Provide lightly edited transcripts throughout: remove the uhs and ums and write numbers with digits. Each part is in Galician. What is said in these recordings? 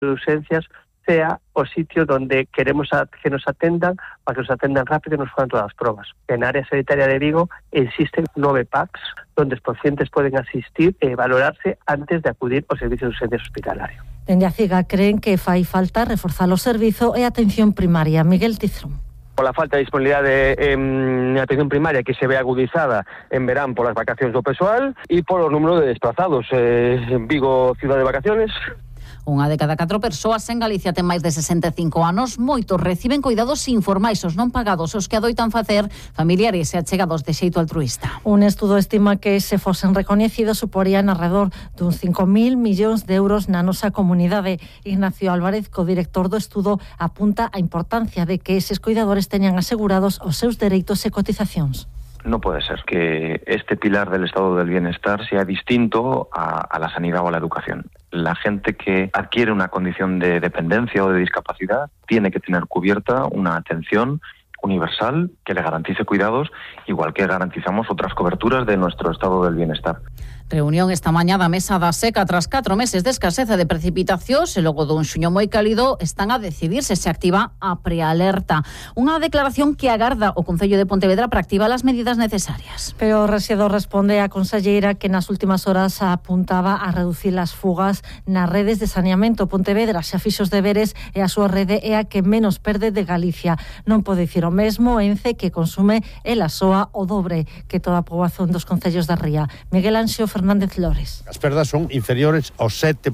de urgencias sea o sitio donde queremos que nos atendan, para que nos atendan rápido y nos hagan todas las pruebas. En área sanitaria de Vigo existen 9 PACs donde los pacientes pueden asistir e valorarse antes de acudir aos servicios de urgencias hospitalarios. Dende a CIGA creen que fai falta reforzar o servizo e a atención primaria. Miguel Tizrón. Por la falta de disponibilidade en atención primaria que se ve agudizada en verán polas vacacións do persoal e polo número de desplazados. En Vigo, cidade de vacaciones. Unha de cada 4 persoas en Galicia ten máis de 65 anos. Moitos reciben cuidados informais, os non pagados, os que adoitan facer familiares e achegados de xeito altruista. Un estudo estima que se fosen recoñecidos suporían alrededor duns 5.000 millóns de euros na nosa comunidade. Ignacio Álvarez, co-director do estudo, apunta a importancia de que eses cuidadores teñan asegurados os seus dereitos e cotizacións. No puede ser que este pilar del estado del bienestar sea distinto a la sanidad o a la educación. La gente que adquiere una condición de dependencia o de discapacidad tiene que tener cubierta una atención universal que le garantice cuidados, igual que garantizamos otras coberturas de nuestro estado del bienestar. Reunión esta mañá da mesa da seca tras 4 meses de escaseza de precipitacións e logo dun xuño moi cálido están a decidir se activa a prealerta. Unha declaración que agarda o Concello de Pontevedra para activar as medidas necesarias. Pero o rexedor responde á conselleira que nas últimas horas apuntaba a reducir as fugas nas redes de saneamento. Pontevedra xa fixo os deberes e a súa rede é a que menos perde de Galicia. Non pode dicir o mesmo Ence, que consume ela soa o dobre que toda a poboación dos concellos da ría. Miguel Anxo Fernández Lores. As perdas son inferiores ao 7%,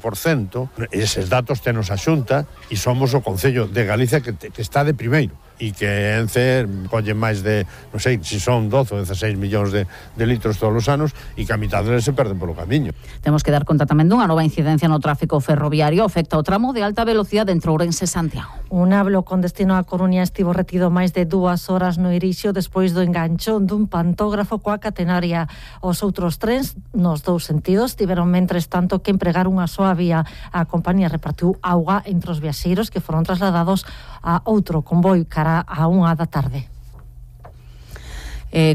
eses datos tenos a Xunta e somos o Concello de Galicia que está de primeiro e que Ence colle máis de, non sei, se son 12 ou 16 millóns de litros todos os anos e que a mitad deles se perden polo camiño. Temos que dar conta tamén dunha nova incidencia no tráfico ferroviario, afecta o tramo de alta velocidade entre Ourense e Santiago. Un hablo con destino a Coruña estivo retido máis de 2 horas no Irixo despois do enganchón dun pantógrafo coa catenaria. Os outros trens, nos 2 sentidos, tiveron mentres tanto que empregar unha soa vía. A compañía repartiu auga entre os viaxeiros que foron trasladados a outro convoi cara a 1 da tarde.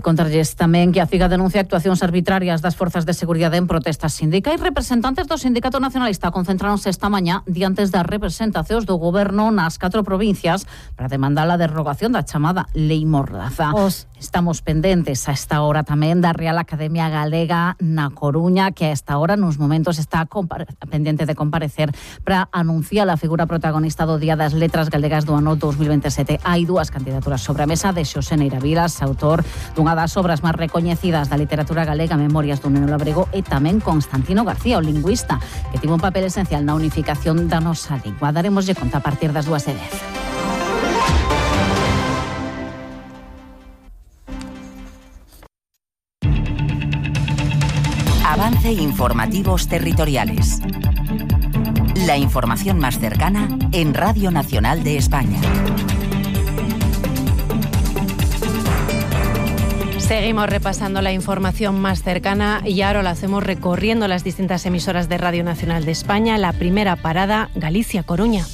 Contarlles tamén que a CIGA denuncia actuacións arbitrarias das forzas de seguridade en protestas sindicais. Representantes do Sindicato Nacionalista concentráronse esta mañá diante das representacións do goberno nas 4 provincias para demandar a derrogación da chamada Lei Mordaza. Estamos pendentes a esta hora tamén da Real Academia Galega na Coruña, que a esta hora nos momentos está pendente de comparecer para anunciar a figura protagonista do Día das Letras Galegas do ano 2027. Hai 2 candidaturas sobre a mesa de Xosé Neira Vilas, autor dunha das obras máis recoñecidas da literatura galega, Memorias dun neno labrego, e tamén Constantino García, o lingüista, que tivo un papel esencial na unificación da nosa lingua. Daremoslle conta a partir das 2:10. Avance Informativos Territoriales. La información más cercana en Radio Nacional de España. Seguimos repasando la información más cercana y ahora lo hacemos recorriendo las distintas emisoras de Radio Nacional de España. La primera parada, Galicia-Coruña.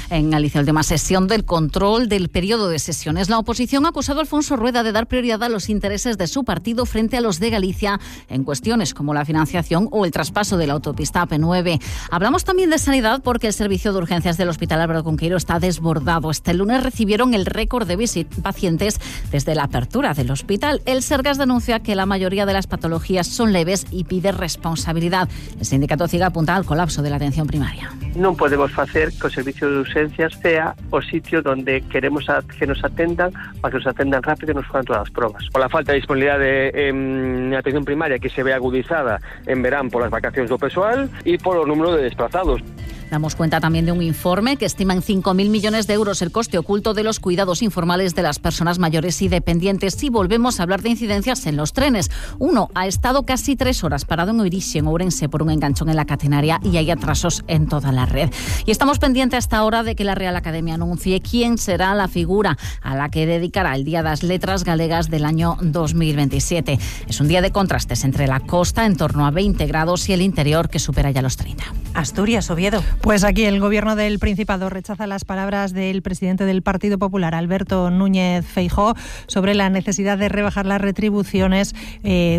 En Galicia, última sesión del control del periodo de sesiones. La oposición ha acusado a Alfonso Rueda de dar prioridad a los intereses de su partido frente a los de Galicia en cuestiones como la financiación o el traspaso de la autopista AP9. Hablamos también de sanidad porque el servicio de urgencias del Hospital Álvaro Cunqueiro está desbordado. Este lunes recibieron el récord de pacientes desde la apertura del hospital. El Sergas denuncia que la mayoría de las patologías son leves y pide responsabilidad. El sindicato CIGA apunta al colapso de la atención primaria. Non podemos facer que o servicio de urgencias sea o sitio donde queremos que nos atendan, para que nos atendan rápido e nos hagan todas as pruebas. Por la falta de disponibilidade en atención primaria que se ve agudizada en verán polas vacacións do persoal e polo número de desplazados. Damos cuenta también de un informe que estima en 5.000 millones de euros el coste oculto de los cuidados informales de las personas mayores y dependientes. Si volvemos a hablar de incidencias en los trenes, uno ha estado casi 3 horas parado en Oirixe, en Ourense, por un enganchón en la catenaria y hay atrasos en toda la red. Y estamos pendientes hasta ahora de que la Real Academia anuncie quién será la figura a la que dedicará el Día das Letras Galegas del año 2027. Es un día de contrastes entre la costa, en torno a 20 grados, y el interior, que supera ya los 30. Asturias, Oviedo. Pues aquí el Gobierno del Principado rechaza las palabras del presidente del Partido Popular, Alberto Núñez Feijóo, sobre la necesidad de rebajar las retribuciones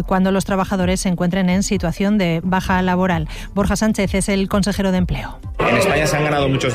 cuando los trabajadores se encuentren en situación de baja laboral. Borja Sánchez es el consejero de Empleo. En España se han ganado muchos